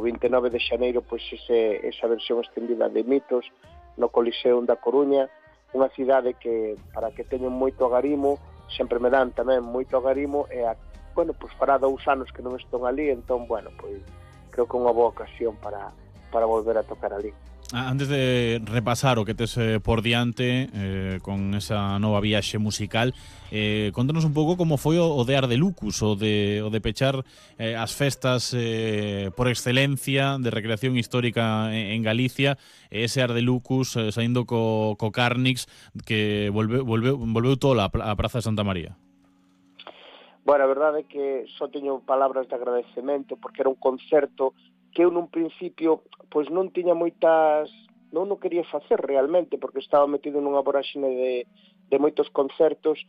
o 29 de xaneiro pois esa versión extendida de Mitos no Coliseum da Coruña, unha cidade que, para que teñen moito agarimo, sempre me dan tamén moito agarimo, e pois fará 2 anos que non estou ali, entón, pois creo que é unha boa ocasión para volver a tocar ali. Antes de repasar o que tes por diante con esa nova viaxe musical, contanos un pouco como foi o de Ardelucus, o de pechar as festas por excelencia de recreación histórica en Galicia, ese Ardelucus saindo co Carnix que volveu tola a Praza de Santa María. Bueno, a verdade é que só teño palabras de agradecemento, porque era un concerto que eu nun principio pois non tiña moitas, non quería facer realmente, porque estaba metido nunha voraxine de moitos concertos,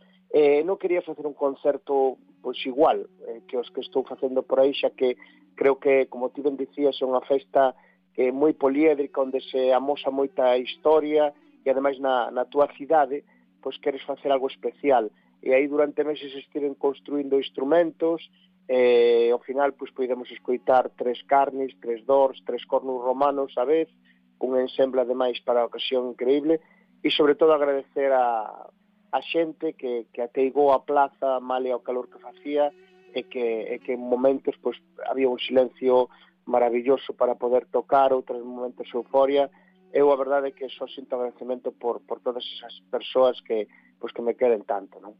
non quería facer un concerto pois igual que os que estou facendo por aí, xa que creo que, como ti ben dicías, é unha festa moi poliédrica, onde se amosa moita historia, e ademais na túa cidade pois queres facer algo especial, e aí durante meses estiven construindo instrumentos, ao final pois podemos escoitar 3 carnis, 3 dors, 3 cornos romanos a vez, un ensemble ademais para a ocasión increíble, e sobre todo agradecer a xente que ateigou a plaza male ao calor que facía, e que en momentos pois había un silencio maravilloso para poder tocar, outros momentos euforia. Eu a verdade é que só sinto agradecemento por todas esas persoas que me queren tanto, non?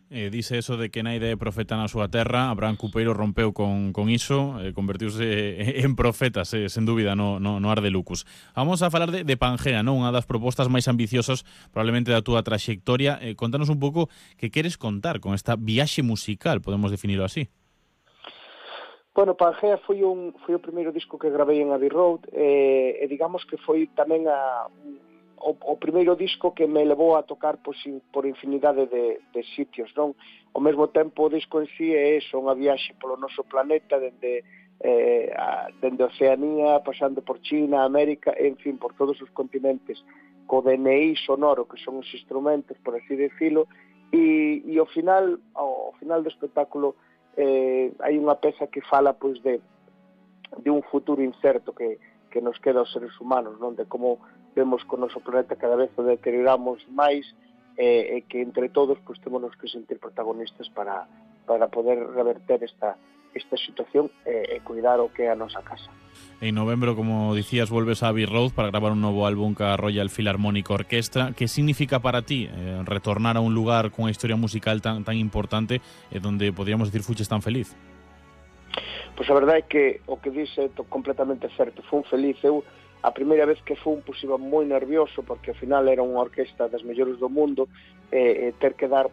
Dice eso de que naide é profeta na súa terra. Abraham Cupeiro rompeu con iso, convertiuse en profeta, sen dúbida, no Ardelucus. Vamos a falar de Pangea, non? Unha das propostas máis ambiciosas probablemente da túa traxectoria. Contanos un pouco que queres contar con esta viaxe musical, podemos definirlo así. Bueno, Pangea foi o primeiro disco que gravei en Abbey Road, e digamos que foi tamén o primeiro disco que me levou a tocar por infinidade de sitios, non? Ao mesmo tempo, o disco en sí é eso, unha viaxe polo noso planeta, dende Oceanía, pasando por China, América, en fin, por todos os continentes, co DNI sonoro, que son os instrumentos, por así decirlo, e ao final do espectáculo hai unha peza que fala pois de un futuro incerto que nos queda aos seres humanos, non? De como vemos que o noso planeta cada vez o deterioramos máis, e que entre todos pois temos que sentir protagonistas para poder reverter esta situación e cuidar o que é a nosa casa. En novembro, como dicías, volves a Abbey Road para gravar un novo álbum ca Royal Philharmonic Orchestra. Que significa para ti retornar a un lugar cunha historia musical tan importante, donde podríamos decir fuches tan feliz? Pois a verdade é que o que dixe é completamente certo. Fun feliz. Eu, a primeira vez que fun, pois iba moi nervioso, porque ao final era unha orquesta das mellores do mundo, ter que dar,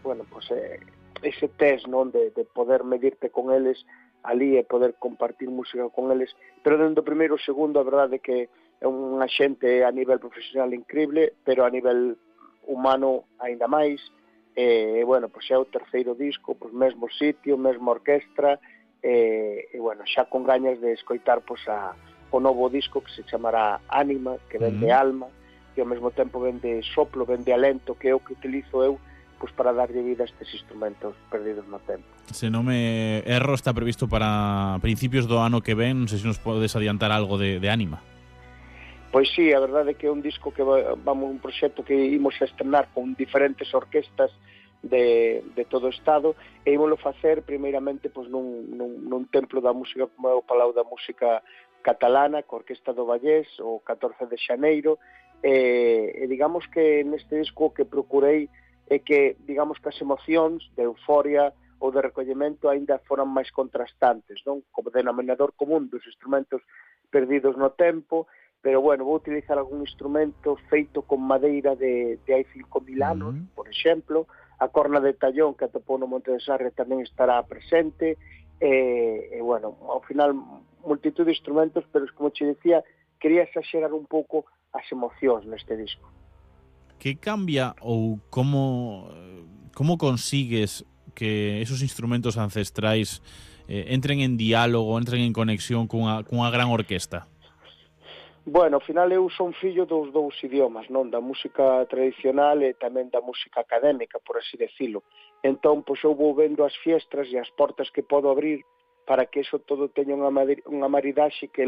ese test, non, de poder medirte con eles ali e poder compartir música con eles, pero dentro do primeiro segundo a verdade é que é unha xente a nivel profesional increíble, pero a nivel humano aínda máis, pois é o terceiro disco, pois mesmo sitio, mesma orquestra, xa con gañas de escoitar pois o novo disco que se chamará Ánima, que ven de alma, e ao mesmo tempo ven de soplo, ven de alento, que é o que utilizo eu pois para darlle vida a estes instrumentos perdidos no tempo. Se non me erro, está previsto para principios do ano que ven. Non sei se nos podes adiantar algo de Ánima. Pois sí, a verdade é que é un disco que un proxecto que imos a estrenar con diferentes orquestas de todo o estado, e ímolo facer primeiramente pois nun templo da música como é o Palau da Música Catalana, co Orquesta do Vallés, o 14 de xaneiro, e digamos que neste disco que procurei é que, digamos que as emocións de euforia ou de recollemento aínda foran máis contrastantes, non? Como denominador común dos instrumentos perdidos no tempo, pero vou utilizar algún instrumento feito con madeira de hai 5.000 anos, por exemplo. A corna de tallón que atopou no Monte de Sarria tamén estará presente, ao final multitud de instrumentos, pero como che dicía, quería exagerar un pouco as emocións neste disco. Que cambia ou como consigues que esos instrumentos ancestrais entren en diálogo, entren en conexión cunha gran orquesta? Bueno, ao final eu son fillo dos dous idiomas, non? Da música tradicional e tamén da música académica, por así decirlo. Entón, pois eu vou vendo as fiestras e as portas que podo abrir para que eso todo teña unha maridaxe que